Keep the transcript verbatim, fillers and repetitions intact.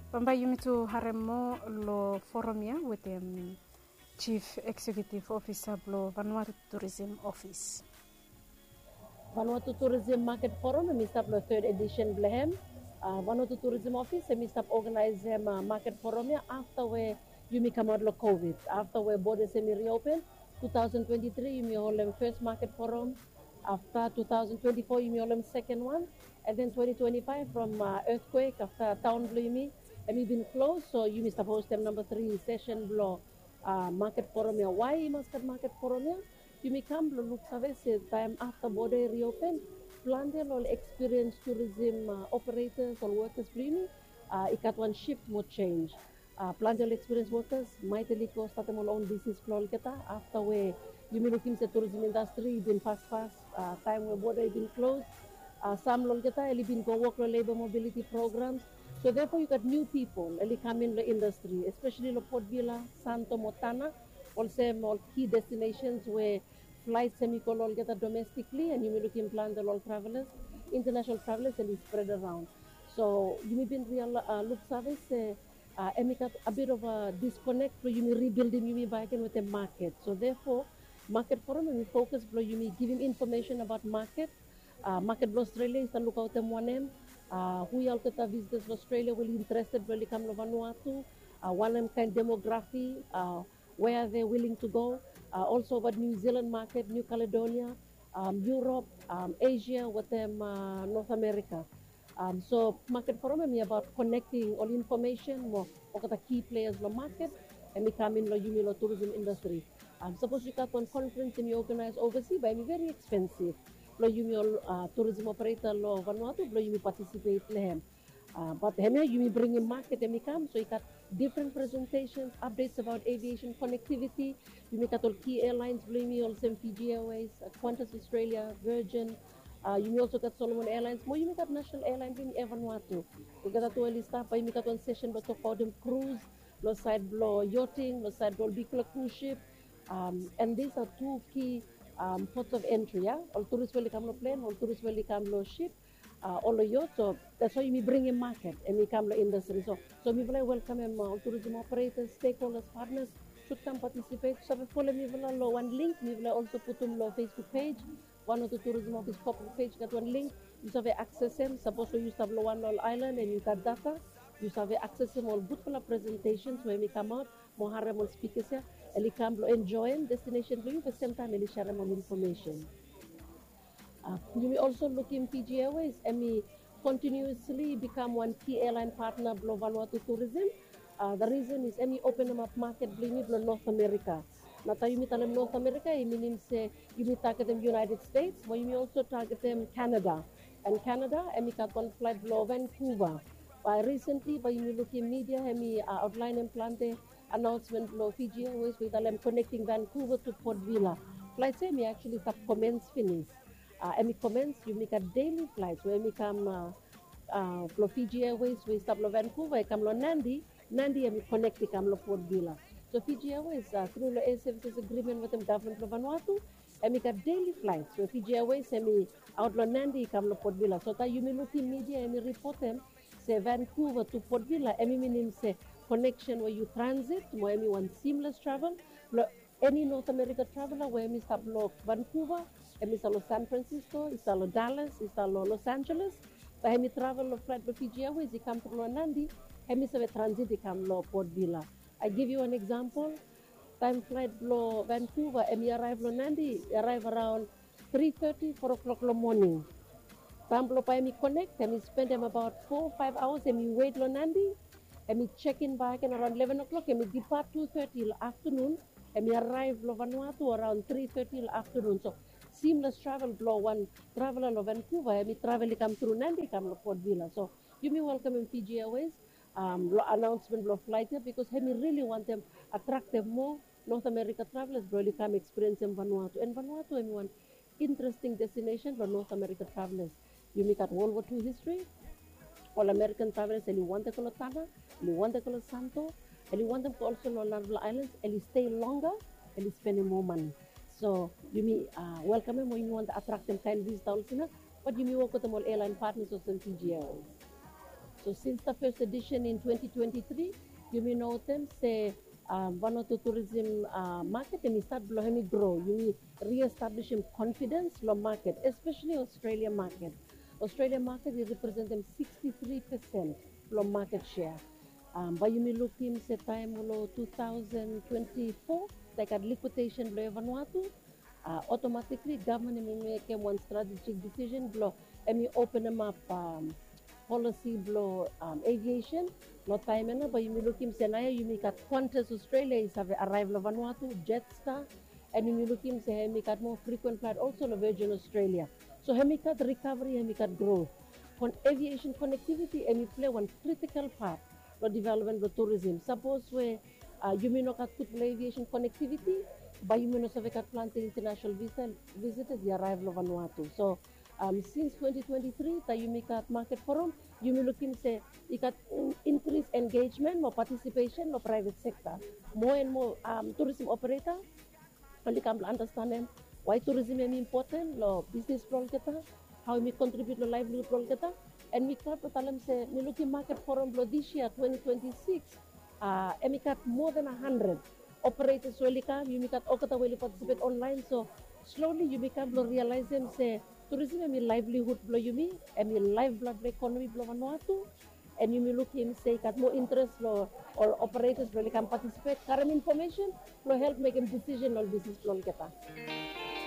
Bambae yumi tu harem moa lo forum ya wetem Chief Executive Officer blo Vanuatu Tourism Office. Vanuatu Tourism Market Forum hemi stap lo third edition blo hem. Vanuatu Tourism Office hemi stap organizem market forum ya afta we yumi kamaot lo COVID. Afta we borders hemi reopen, two thousand twenty-three yumi holem first market forum. Afta two thousand twenty-four yumi holem second one. And then twenty twenty-five from earthquake afta taon blo yumi hemi bin close, so yumi stap hostem namba three session blo market forum ya. Why i mas gat market forum ya? Yumi kam blo luksave se taem afta border i reopen, plante lo ol experienced tourism operators, ol workers blo yumi i gat wan shift mo change. Plante ol experienced workers maet oli go statem ol own business blo olgeta afta we yumi lukim se tourism industry i bin paspas taem we border i bin close. Sam lo olgeta oli bin go wok lo labor mobility programs. So therefore yu gat new people oli kam in lo industry, especially lo Port Vila, Santo mo Tanna, olsem ol key destinations we flights hemi go lo olgeta domestically, and yumi lukim plante lo ol travelers, international travelers, and i spread around. So yumi bin real luksave se hemi gat a bit of a disconnect blo yumi rebuildim yumi bakegen wetem market. So therefore market forum hemi focus blo yumi givim information about market. Market blo Australia i stap lukaotem wanem, hu ya olgeta visitors lo Australia we oli interested blo oli kam lo Vanuatu, wanem kaen demography, where are they willing to go. Also about New Zealand market, New Caledonia, Europe, Asia wetem North America. So market forum hemi about connecting ol information mo olgeta key players lo market hemi kam in lo yumi lo tourism industry. Sapos yu gat wan conference hemi organize oversea, bae hemi very expensive lo yumi ol tourism operator lo Vanuatu blo yumi participate lo hem. But hemia yumi bringim market hemi kam, so i gat different presentations, updates about aviation connectivity. Yumi gat ol key airlines blo yumi olsem Fiji Airways, Qantas Australia, Virgin. Yumi also gat Solomon Airlines mo yumi gat national airline blo yumi, Air Vanuatu. Olgeta tu oli stap. Bae yumi gat wan session blo tokbaotem cruise, lo saed blo yachting, lo saed blo ol bigfala cruise ship. And these are two key ports of entry ya. Ol turist we oli kam lo plen, ol turist we oli kam lo ship, ol lo yacht. So that's why yumi bringim market hemi kam lo industry. So mifala i welkamem ol tourism operators, stakeholders, partners should come participate. Save folem mifala lo wan link mifala also putum lo Facebook page. Vanuatu Tourism Office corporate page i gat wan link. Yu save accessem sapos we yu stap lo wan lo ol island and yu gat data. Yu save accessem ol gudfala presentations we hemi kamaot mo harem ol speakers ya. Oli kam blo enjoem destination blo yu, be semtaem oli serem ol information. Yumi also lukim Fiji Airways hemi continuously become wan key airline partner blo Vanuatu tourism. The reason is hemi openem ap market blo yumi blo North America. Nao taem yumi talem North America i minim se yumi targetem United States, mo yumi also targetem Canada. And Canada hemi gat wan flight blo Vancouver. Bae recently bae yumi lukim media hemi outlineem plante announcement blo Fiji Airways we i talem connecting Vancouver to Port Vila. Flights ya hemi actually stap commence finis. Hemi commence, yumi gat daily flights we hemi kam blo Fiji Airways we i stap lo Vancouver i kam lo Nadi. Nadi hemi connect i kam lo Port Vila. So Fiji Airways tru lo air services agreement wetem gavman blo Vanuatu, hemi gat daily flights we Fiji Airways hemi aot lo Nadi i kam lo Port Vila. So taem yumi lukim media hemi ripotem se Vancouver to Port Vila, hemi minim se connection we yu transit mo hemi wan seamless travel blo eni North America traveler we hemi stap lo Vancouver, hemi stap lo San Francisco, i stap lo Dallas, i stap lo Los Angeles, bae hemi travel lo flight blo Fiji Airways i kam tru lo Nadi, hemi save transit i kam lo Port Vila. I give you an example. Taem flight blo Vancouver hemi arrive lo Nadi, i arrive around three thirty, four o'clock lo moning. Taem blo bae hemi connect, hemi spendem abaot four, five hours hemi wet lo Nadi. Hemi check in bakegen around eleven o'clock, hemi depart two thirty lo afternoon. Hemi arrive lo Vanuatu around three thirty lo afternoon. So seamless travel blo wan traveler lo Vancouver, hemi travel i kam tru Nadi i kam lo Port Vila. So yumi welkamem Fiji Airways lo announcement blo flight ya, because hemi really wantem attractem moa North America travelers blo oli kam experience em Vanuatu. And Vanuatu hemi wan interesting destination blo North America travelers. Yumi gat World War Two history. Ol American travelers oli wantem go lo Tanna, oli wantem go lo Santo, oli wantem go also lo narafala islands, oli stay longer, oli spendem moa mane. So yumi welkamem o yumi wantem attractem kaen visitor olsem ya, bat yumi wok wetem ol airline partners olsem Fiji Airways. So since the first edition in twenty twenty-three, yumi notem se um, Vanuatu tourism uh, market hemi start blong hemi grow. Yumi re-establishim confidence long market, especially Australia market. Australia market i representem sixty-three percent blong market share. Um, bae yumi lukim se taem long two thousand twenty-four, taem i gat liquidation blong Air Vanuatu, uh, automatically government hemi mekem wan strategic decision blong hemi openem ap um, policy blong um, aviation. Long taem ia nao bae yumi lukim se naoia yumi gat Qantas Australia i save arrive long Vanuatu, Jetstar, and yumi lukim se hemi gat moa frequent flight also long Virgin Australia. So hemi gat recovery, hemi gat growth. Kon aviation connectivity hemi play wan critical part long development blong tourism. Sapos we uh, yumi no gat gud long aviation connectivity, bae yumi no save gat plante international visa, visitors i arrive long Vanuatu. So um, since twenty twenty-three, taem yumi gat market forum, yumi lukim se i gat um, increase engagement mo participation long private sector. More and more um, tourism operator oli kam blong understandem why tourism hemi important long business blong olgeta, how hemi contribute long livelihood blong olgeta. And mi glad blong talem se mi lukim market forum blong this year twenty twenty-six, uh, hemi gat more than a hundred operators we oli kam, yumi gat olgeta we oli participate online. So slowly yumi kam blong realizem se tourism hemi livelihood blong yumi, hemi lifeblood blong economy blong Vanuatu. And yumi lukim se i gat moa interest long ol operators blong oli kam participate, karem information blong help mekem decision long business blong olgeta.